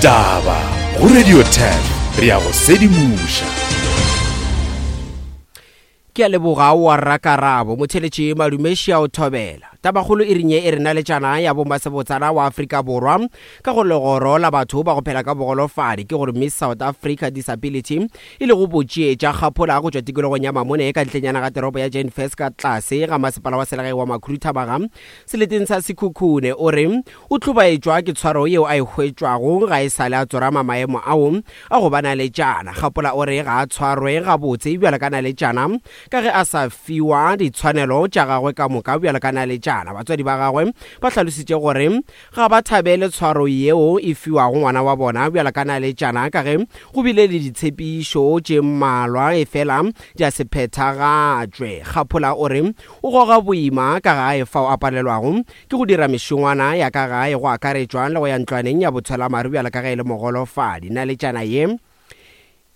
Ditaba go Radio 10 re ya go sedimoša. Ke a leboga wa rrakarabo motheletši madumeši a o thobela. Tabakgolo e rinye e re naletšana ya bomasebotsana wa Afrika Borwa ka go legoro la batho ba go phela ka bogolofadi ke gore Miss South Africa Disability e lego botšie tša kgaphola go tšwa tikologong ya Mamone ka ntlenyana ga teropo ya Jane Furse ka tlase ga masepala wa selegae wa Makhuduthamaga seleteng sa Sekhukhune o re o hlobaetšwa ke tshwaro yeo a e hwetšwago ga e sa le a tsorama maemo ao a go ba naletšana. Kgapola o re ga a tshwarwe gabotse bjalo ka naletšana ka ge a sa fiwa ditshwanelo tša gagwe ka moka bjalo ka naletšana. Batswadi ba gagwe ba hlalositše gore ga ba thabele tshwaro yeo e fiwago ngwana wa bona bjalo ka naletšana ka ge go bile le ditshepišo tše mmalwa efela di a se phethagatšwe. Kgaphola o re o goga boima ka gae fao a palelwago ke go dira mešongwana ya ka gae go akaretšwa le go ya ntlwaneng ya botshwelamaru bjalo ka ge e le mogolofadi. Naletšana ye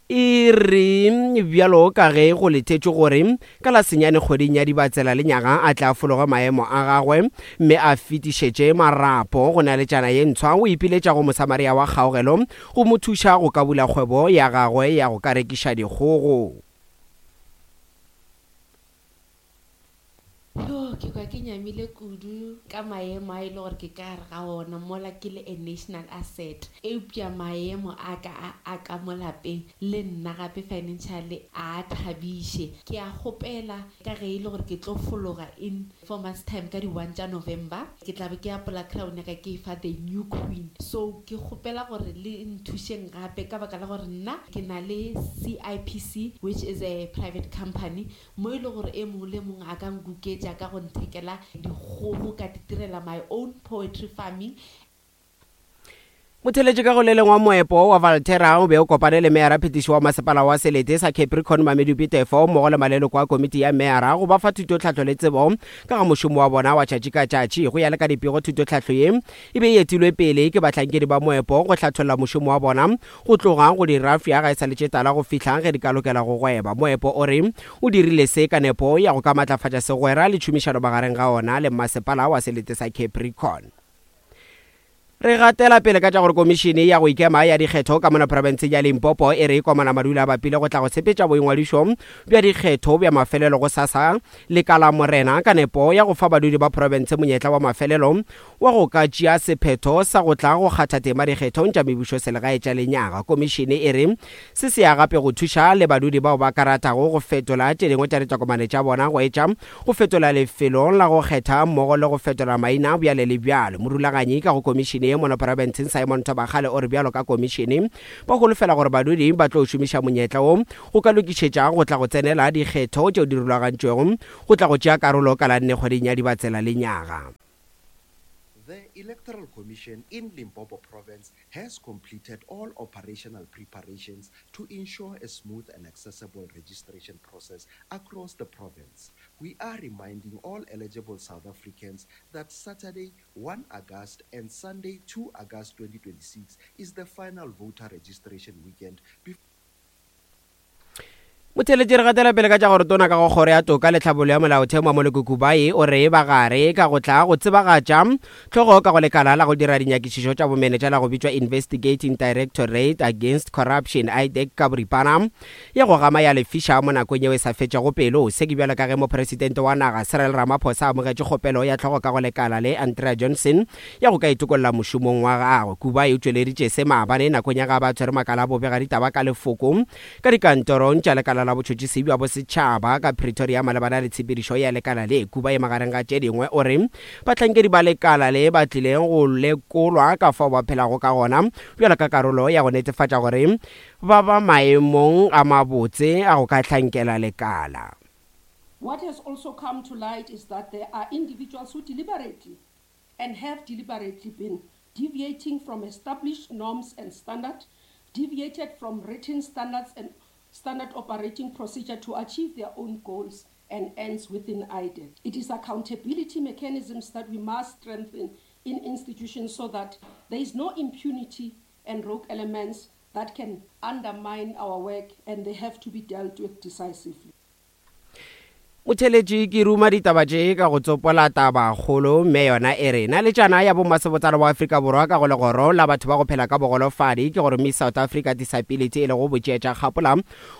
e re bjalo ka ge go letetšwe gore ka la senyane kgweding ya Dibatsela lenyaga a tle a fologe maemo a gagwe mme a fetišetše marapo go naletšana ye ntshwa, o ipiletša go Mosamaria wa kgaogelo go mo thuša go ka bula kgwebo ya gagwe ya go ka rekiša dikgogo. Yo, ke kwa ke nyamile kudu ka maemo a e le gore ke ka gare ga ona mola ke le a national asset. Eupša maemo a ka a a ka mo lapeng le nna gape financially a a thabiše. Ke a kgopela ka ge e le gore ke tlo fologa in 4 months time ka di 1 tša November, ke tla be ke apola crown ya ka ke e fa the new queen. So ke kgopela gore le nthušeng gape ka baka la gore nna ke na le CIPC which is a private company mo e le gore e mongwe le mongwe a ka nkuketša ka go nthekela dikgogo ka titirela my own poetry farming. Motheletši ka go le lengwe wa moepo wa Valterra o be o kopane le meyara phetiši wa masepala wa selete sa Capricorn Mamedupi Tefo mmogo le maleloko a komiti ya meyara go ba fa thutotlhahlo le tsebo ka ga mošomo wa bona wa tšatši ka tšatši. Go ya le ka dipego thutotlhahlo ye e be e etilwe pele ke bahlankedi ba moepo go hlatholla mošomo wa bona Go tloga go di rafya ga e sa le tše tala go fihla ge di ka lokela go gweba. Moepo o re o dirile se ka nepo ya go ka matlafatša segwera le tšhomišano magareng ga ona le mmasepala wa selete sa Capricorn. Re gatela pele ka tša gore Komišene ya go Ikema ya Dikgetho ka mona profenseng ya Limpopo e re Komana Madula a bapile go tla go sepetša boingwadišo bja dikgetho bja mafelelo gosasa le ka Lamorena ka nepo ya go fa badudi ba profense monyetla wa mafelelo wa go ka tšea sephetho sa go tla go kgatha tema dikgethong tša mebušoselegae tša lenyaga. Komišene e re se se ya gape go thuša le badudi bao ba ka ratago go fetola tše dingwe tša ditokomane tša bona go etša go fetola lefelo la go kgetha mmogo le go fetola maina bjale le bjalo. Morulaganyi ka go komišene ye mono profenseng Simon Thobakgale o re bjalo ka komišene ba holofela gore badudi ba tlo šomiša monyetla wo go ka lokišetša go tla go tsenela dikgetho tšeo di rulagantšwego go tla go tšea karolo ka la nne kgweding ya Dibatsela lenyaga. The Electoral Commission in Limpopo Province has completed all operational preparations to ensure a smooth and accessible registration process across the province. We are reminding all eligible South Africans that Saturday, 1 August and Sunday, 2 August 2026 is the final voter registration weekend before Motheeletši re gatela pele ka tša gore tona ka go kgoro ya toka le tlhabollo ya molaotheo Mamoloko Kubayi o re ba gare ka go tla go tsebagatša hlogo ka go lekala la go dira dinyakišišo tša bomenetša la go bitšwa Investigating Directorate Against Corruption, IDAC, ka boripana ya go gama ya lefiša mo nakong yeo e sa fetšego pelo. Se ke bjalo ka ge mopresidente wa naga Cyril Ramaphosa a amogetše kgopelo ya hlogo ka go lekala le Andrea Johnson ya go ka itokolla mošomong wa gagwe. Kubayi o tšweleditše se maabane nakong ya ge a be a tshwere makala a bobegaditaba ka lefoko Ka dikantorong tša Lekala la Botšhotšhisi bja Bosetšhaba ka Pretoria malebana le tshepedišo ya lekala le, Kuba e magareng ga tše dingwe o re bahlankedi ba lekala le ba tlile go lekolwa ka fao ba phelago ka gona bjalo ka karolo ya go netefatša gore ba ba maemong a mabotse a go ka hlankela lekala. What has also come to light is that there are individuals who deliberately and have deliberately been deviating from established norms and standard, deviated from written standards and standard operating procedure to achieve their own goals and ends within IDAC. It is accountability mechanisms that we must strengthen in institutions so that there is no impunity and rogue elements that can undermine our work and they have to be dealt with decisively. Motheletši ke ruma ditaba tše ka go tsopola tabakgolo mme yona e re naletšana ya bommasebotsana wa Afrika Borwa ka go legoro la batho ba go phela ka bogolofadi ke gore Miss South Africa Disability e lego botšeetša kgapola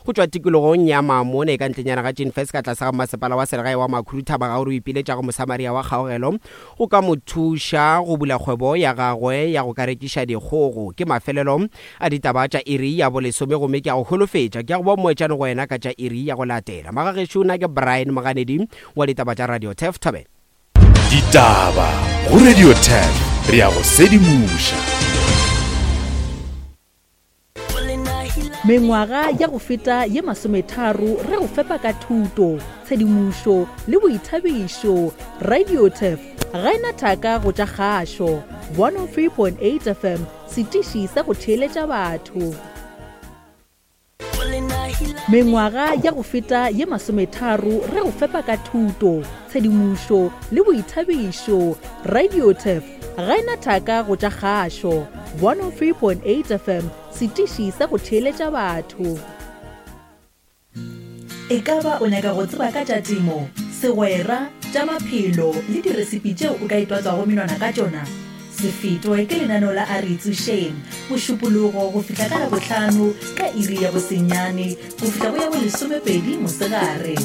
go tšwa tikologong ya Mamone ka ntlenyana ga Ginfest ka tlase ga mmasepala wa selegae wa Makhuduthamaga gore o ipiletša go Mosamaria wa kgaogelo go ka mo thuša go bula kgwebo ya gagwe ya go ka rekiša dikgogo. Ke mafelelo a ditaba tša iri ya bolesome gomme ke a go holofetša ke ya go ba moetšane go wena ka tša iri ya go latela. Magagešo nna ke Brian Moganedi wa ditaba tša Radio Turf Thobela. Ditaba go Radio Turf re a go sedimoša. Mengwaga ya go feta ye masometharo re go fepa ka thuto, tshedimošo le boithabišo. Radiotef ga e na thaka go tša kgašo. 103.8 FM, setiši sa go theeletša batho. Mengwaga ya go feta ye masometharo re go fepa ka thuto, tshedimošo le boithabišo. Radiotef ga e na thaka go tša kgašo. 103.8 FM, setiši sa go theeletša batho. E ka ba o nyaka go tseba ka tša temo, segwera, tša maphelo le diresipi tšeo o ka itwatswago menwana ka tšona? Se fetwe ke lenaneo la A Re Itsošeng, Mošupologo go fihla ka Labohlano ka iri ya bosenyane go fihla go ya bolesomepedi mosegare.